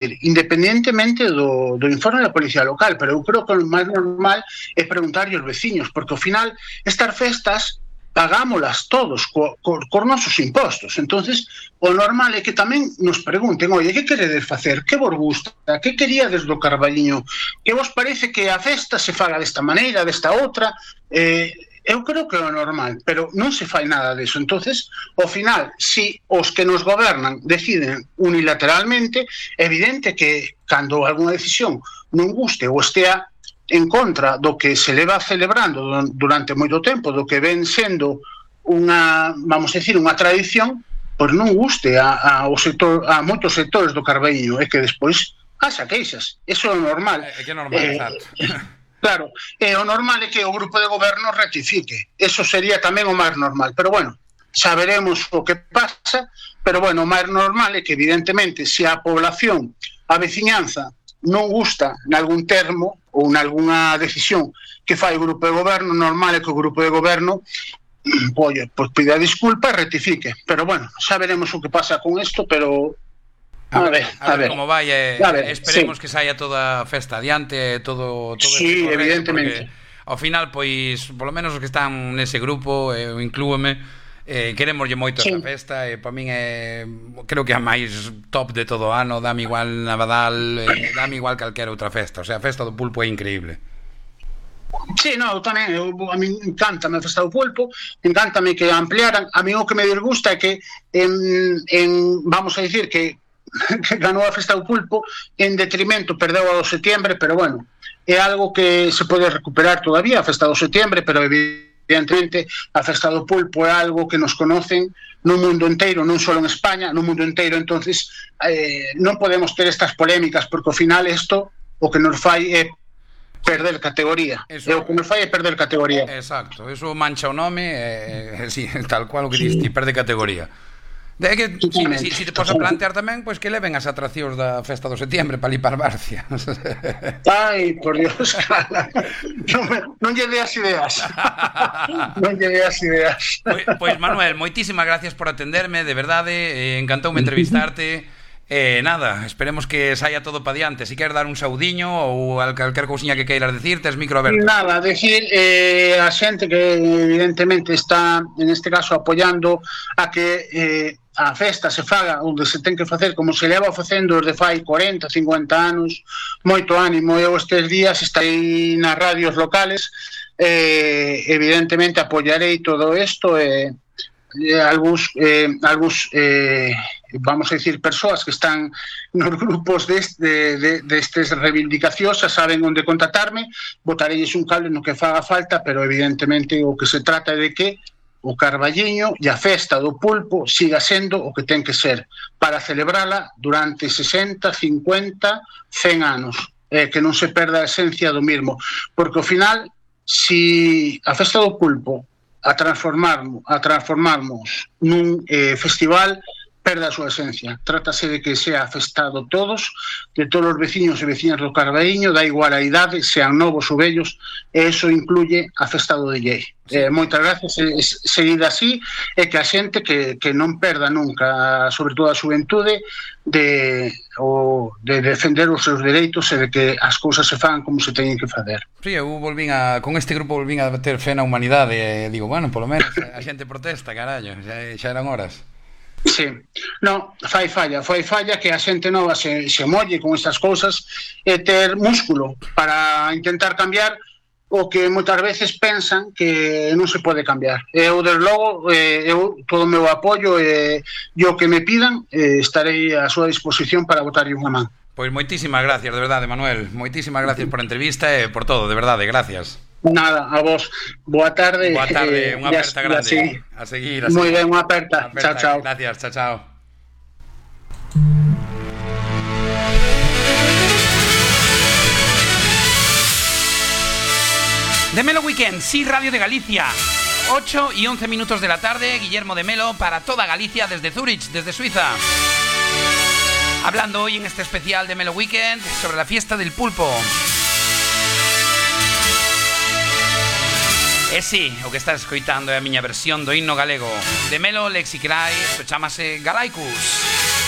independentemente do informe da Policía Local, pero eu creo que o máis normal é preguntarlle aos veciños, porque ao final estas festas pagámolas todos cos nosos impostos. Entonces, o normal é que tamén nos pregunten, oye, que queredes facer? Que vos gusta? Que queríades do Carballiño? Que vos parece que a festa se faga desta maneira, desta outra? Eu creo que é o normal, pero non se fai nada disso. Entonces, ao final, se os que nos gobernan deciden unilateralmente, é evidente que cando algunha decisión non guste ou estea en contra do que se leva celebrando durante moito tempo, do que ven sendo unha, vamos a decir, unha tradición, pois non guste a moitos sectores do Carballiño, e que despois haxa queixas. Eso é o normal. É que é normal, exacto. Claro, o normal é que o grupo de goberno rectifique. Eso sería tamén o máis normal. Pero bueno, saberemos o que pasa, pero bueno, o máis normal é que evidentemente se a población, a veciñanza, non gusta nalgún termo ou nalgúna decisión que fai o grupo de goberno, normal é que o grupo de goberno pois pida disculpa e rectifique. Pero bueno, xa veremos o que pasa con isto, pero a ver como vai, esperemos que saia toda a festa adiante, todo sí, evidentemente. Ao final, pois, polo menos os que están nese grupo, eu inclúeme, queremoslle moito esta festa, e para min é, creo que é a máis top de todo o ano, dame igual Navadal, dame igual calquera outra festa, o sea, a festa do pulpo é increíble. Sí, no, tamén, a mí encantame a festa do pulpo, encantame que ampliaran. A mí o que me disgusta é que vamos a dicir que ganou a festa do pulpo en detrimento, perdeu a do setembro, pero bueno, é algo que se pode recuperar todavía, a festa do setembro, pero evidentemente a festa do pulpo é algo que nos conocen no mundo inteiro, non só en España, no mundo inteiro. Entonces non podemos ter estas polémicas, porque ao final isto o que nos fai é perder categoría. Eso, o que nos fai é perder categoría. Exacto, eso mancha o nome, sí, tal cual o que diste, perde categoría. É que si te podes plantear tamén, pois que leven as atraccións da festa do setembro para lipar Barcia. Ai, por Dios, non lle deas ideas. Non lle deas ideas. Pois Manuel, moitísimas gracias por atenderme, de verdade, encantoume entrevistarte. Nada, esperemos que saia todo para diante. Si queres dar un saudiño ou calquer cousiña que queiras decir, tes micro aberto. Nada, decir a xente que evidentemente está, en este caso, apoiando a que a festa se faga onde se ten que facer como se leva facendo desde fai 40, 50 anos. Moito ánimo. Eu estes días estarei nas radios locales, evidentemente apoiarei todo isto, algúns vamos a decir, persoas que están nos grupos destes reivindicacións saben onde contactarme, botarelles un cable no que faga falta, pero evidentemente o que se trata é de que o Carballiño e a festa do pulpo siga sendo o que ten que ser para celebrala durante 60, 50, 100 anos, que non se perda a esencia do mismo, porque ao final, si a festa do pulpo a transformarmos nun festival, perde a súa esencia. Trátase de que sea festado todos, de todos os veciños e veciñas do Carballiño, da igual a idade, sean novos ou vellos, e eso incluye a festa do DJ. Moitas gracias, seguida así, e que a xente que non perda nunca, sobre todo a xuventude, de defender os seus dereitos e de que as cousas se fan como se teñen que fazer. Sí, eu con este grupo volvín a ter fe na humanidade, e digo, bueno, polo menos a xente protesta, carallo, xa eran horas. Sí, no, fai falla que a xente nova se molle con estas cousas e ter músculo para intentar cambiar o que moitas veces pensan que non se pode cambiar. Eu, desde logo, todo o meu apoio e o que me pidan, estarei a súa disposición para botarlle unha man. Pois moitísimas gracias, de verdade, Manuel. Moitísimas gracias por a entrevista e por todo, de verdade, gracias. Nada, a vos. Boa tarde. Boa tarde, unha aperta grande. A seguir. Moi ben, unha aperta. Chao, chao. Gracias, chao, chao. De Melo Weekend, sí, Radio de Galicia. 8 y 11 minutos de la tarde, Guillermo de Melo para toda Galicia desde Zúrich, desde Suiza. Hablando hoy en este especial de Melo Weekend sobre la fiesta del pulpo. Sí, o que estás escoitando é a miña versión do himno galego de Melo Lexicrai, isto chamase Galaicus.